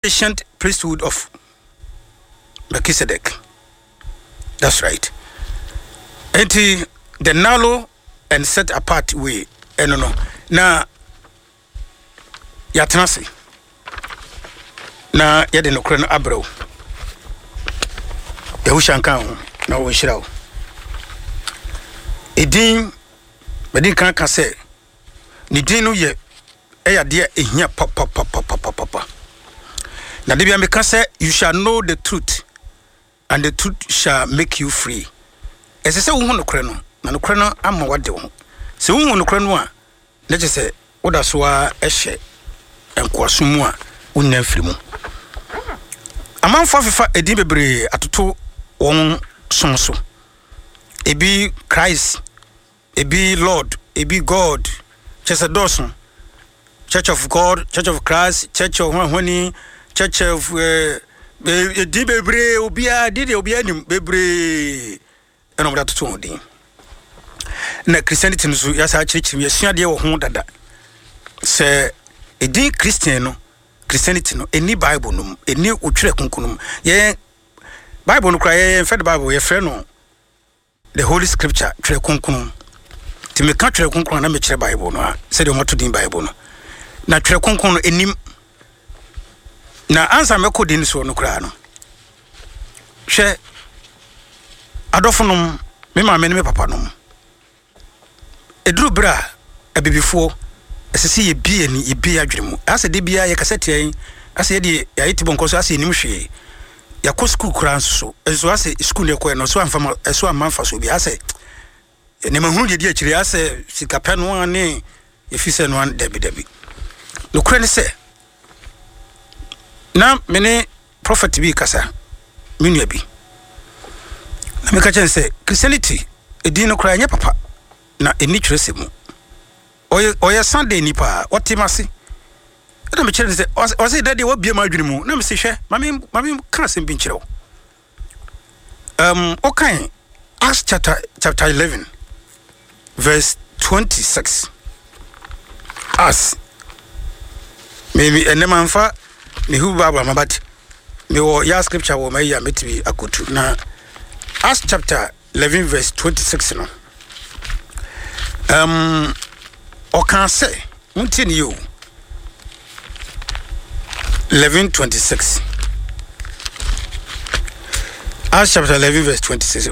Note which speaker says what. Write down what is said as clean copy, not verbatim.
Speaker 1: Ancient priesthood of Melchizedek. That's right. Enti the narrow and set apart way ɛno no na yɛatena ase na yɛde nokorɛ no abrɛ wo. Yahusha nka ho na wɔnhyira wo. Edin mede nka ka sɛ ne din no yɛ ɛyɛ adeɛ a ɛhia papapapapapa. Na da bia meka sɛ you shall know the truth and the truth shall make you free. Ɛsɛ sɛ wohu nokorɛ no na nokorɛ no ama wade wo ho. Sɛ wohu nokorɛ no a na kyerɛ sɛ woda so ara hyɛ nkoasom mu a wonnya mfiri mu. Amanfoɔ afefa edin bebree atoto wɔn som so. Ebi Christ, ebi Lord, ebi God, kyerɛ sɛ dɔɔso. Church of God, Church of Christ, Church of Hwahwani, Church of eh, edin bebree, obiara din deɛ obiara nim bebree ɛna wɔde atoto wɔn din. Na Christianity no so yɛasa akyerɛkyerɛ mu, yɛsua adeɛ wɔ ho dada sɛ edin Christian no, Christianity no, ɛni Bible no mu, ɛni otwerɛ kronkron no mu. Yɛn Bible no koraa yɛn fɛ de Bible yɛfrɛ no The Holy Scripture, Twerɛ Kronkron. Nti meka Twerɛ Kronkron a na mekyerɛ Bible no a, sɛdeɛ wɔato din Bible no. Na Twerɛ Kronkron no ɛnim. Na ansa mɛkɔ din soɔ no koraa no, hwɛ adɔfonom, me maame ne me papa nom. Ɛduru berɛ a abibifoɔ, ɛsɛ sɛ yɛbue yɛn ani, yɛbue yɛn adwene mu. Asɛ da biara yɛkasa tia yɛn, asɛ yɛdeɛ yɛayɛ tibɔnkɔ so, asɛ yɛnnim hwee. Yɛakɔ sukuu koraa nso so, nso asɛ sukuu no yɛkɔɛ no, ɛso amfa ma, ɛso amma mfasoɔ bi. Asɛ nneɛma hunu deɛ di akyire, asɛ sikapɛ no ara ne yɛfi sɛ no ara, dabi dabi. Nokorɛ ne sɛ, na me ne prɔfɛt bi rekasa, me nua bi, na meka kyerɛ no sɛ Christianity edin no koraa ɛnyɛ papa na ɛnni twerɛsɛm mu. Ɔyɛ ɔyɛ Sunday ni paa, ɔte m'ase. Ɛna mekyerɛ no sɛ ɔse dɛ deɛ wabie m'adwene mu na mese hwɛ ma me ma me ka asɛm bi nkyerɛ wo. Wokan Acts chapter 11 verse 26. Acts. Maybe ɛnɛ manfa me Hebrew Bible ama but mewɔ ya scripture wɔ mayi a mɛtumi akotu na Acts chapter 11 verse 26 no ɔkaa sɛ montie ne yie o 11:26 Acts chapter 11 verse 26.